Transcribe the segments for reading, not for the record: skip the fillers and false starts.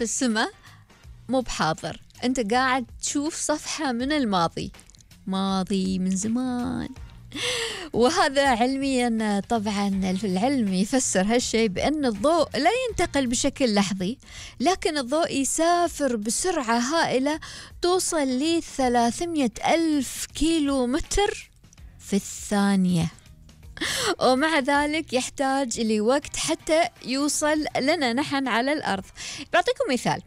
في السماء مو بحاضر، أنت قاعد تشوف صفحة من الماضي، ماضي من زمان. وهذا علميا طبعا العلم يفسر هالشيء بأن الضوء لا ينتقل بشكل لحظي، لكن الضوء يسافر بسرعة هائلة توصل ل 300 ألف كيلو متر في الثانية، ومع ذلك يحتاج لوقت حتى يوصل لنا نحن على الأرض. بعطيكم مثال،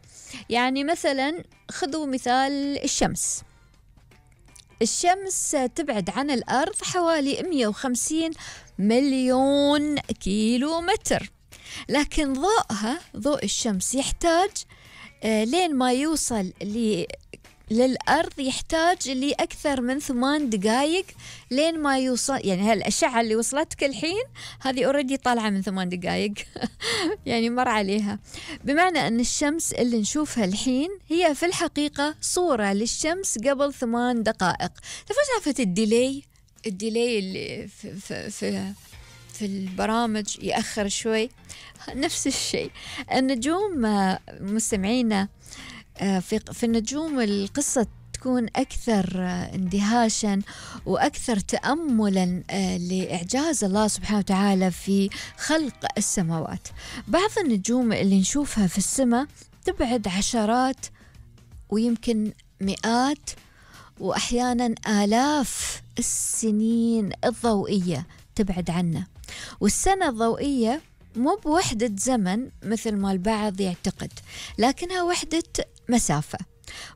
يعني مثلا خذوا مثال الشمس تبعد عن الأرض حوالي 150 مليون كيلو متر، لكن ضوء الشمس يحتاج لين ما يوصل للأرض يحتاج لأكثر من 8 دقائق لين ما يوصل. يعني هالأشعة اللي وصلتك الحين هذه أوريدي طالعة من 8 دقائق يعني مر عليها، بمعنى أن الشمس اللي نشوفها الحين هي في الحقيقة صورة للشمس قبل 8 دقائق. تعرفت الديلي اللي في البرامج يأخر شوي، نفس الشيء النجوم مستمعينا. في النجوم القصة تكون أكثر اندهاشا وأكثر تأملا لإعجاز الله سبحانه وتعالى في خلق السماوات. بعض النجوم اللي نشوفها في السماء تبعد عشرات ويمكن مئات وأحيانا آلاف السنين الضوئية تبعد عنا، والسنة الضوئية مو بوحدة زمن مثل ما البعض يعتقد، لكنها وحدة مسافة،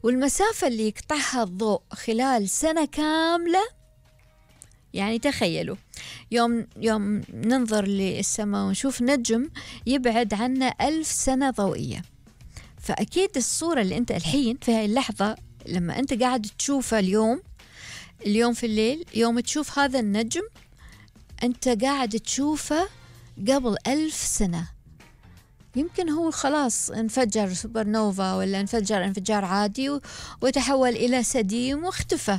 والمسافة اللي يقطعها الضوء خلال سنة كاملة. يعني تخيلوا يوم ننظر للسماء ونشوف نجم يبعد عنا 1000 سنة ضوئية، فأكيد الصورة اللي أنت الحين في هاي اللحظة لما أنت قاعد تشوفها اليوم في الليل، يوم تشوف هذا النجم أنت قاعد تشوفه قبل 1000 سنة. يمكن هو خلاص انفجر سوبر نوفا ولا انفجر انفجار عادي وتحول إلى سديم واختفى،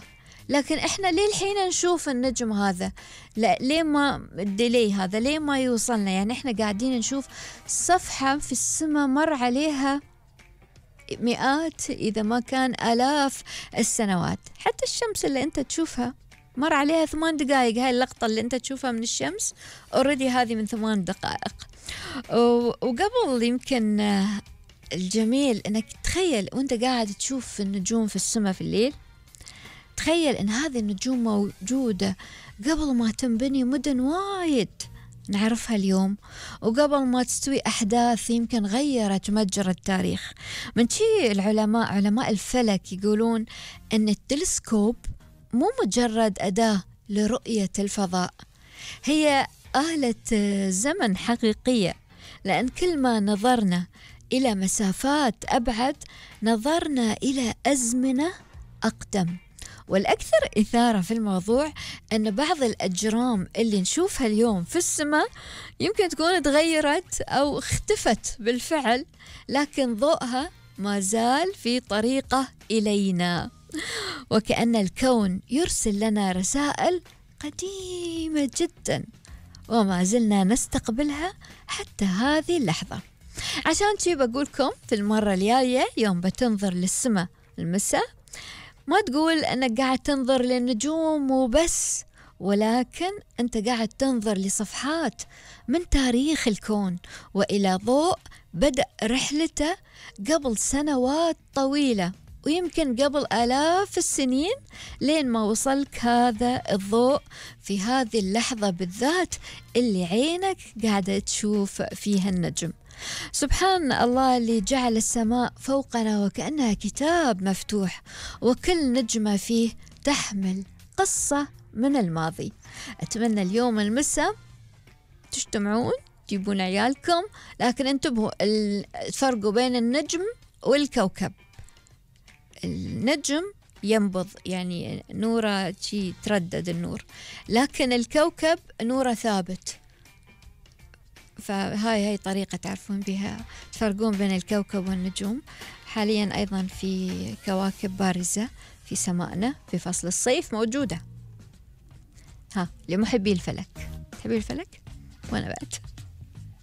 لكن إحنا ليه الحين نشوف النجم هذا؟ لا، ليه ما الديلي هذا ليه ما يوصلنا؟ يعني إحنا قاعدين نشوف صفحة في السماء مر عليها مئات إذا ما كان آلاف السنوات. حتى الشمس اللي أنت تشوفها مر عليها 8 دقائق، هاي اللقطة اللي أنت تشوفها من الشمس أوريدي هذه من 8 دقائق. وقبل يمكن الجميل أنك تخيل وأنت قاعد تشوف النجوم في السماء في الليل، تخيل أن هذه النجوم موجودة قبل ما تنبني مدن وايد نعرفها اليوم، وقبل ما تستوي أحداث يمكن غيرت مجرى التاريخ. من شيء علماء الفلك يقولون أن التلسكوب مو مجرد أداة لرؤية الفضاء، هي آلة زمن حقيقية، لأن كل ما نظرنا إلى مسافات أبعد نظرنا إلى أزمنة أقدم. والأكثر إثارة في الموضوع أن بعض الأجرام اللي نشوفها اليوم في السماء يمكن تكون تغيرت أو اختفت بالفعل، لكن ضوءها ما زال في طريقه إلينا، وكأن الكون يرسل لنا رسائل قديمة جدا وما زلنا نستقبلها حتى هذه اللحظة. عشان شي بقولكم في المرة الجاية يوم بتنظر للسماء المساء ما تقول أنك قاعد تنظر للنجوم وبس، ولكن أنت قاعد تنظر لصفحات من تاريخ الكون وإلى ضوء بدأ رحلته قبل سنوات طويلة ويمكن قبل آلاف السنين لين ما وصلك هذا الضوء في هذه اللحظة بالذات اللي عينك قاعدة تشوف فيها النجم. سبحان الله اللي جعل السماء فوقنا وكأنها كتاب مفتوح، وكل نجمة فيه تحمل قصة من الماضي. أتمنى اليوم المساء تجتمعون تجيبون عيالكم، لكن انتبهوا تفرقوا بين النجم والكوكب. النجم ينبض يعني نوره شي تردد النور، لكن الكوكب نوره ثابت. فهاي طريقة تعرفون بها تفرقون بين الكوكب والنجوم. حاليا أيضا في كواكب بارزة في سمائنا في فصل الصيف موجودة. لمحبي الفلك، تحبي الفلك؟ وأنا بعد.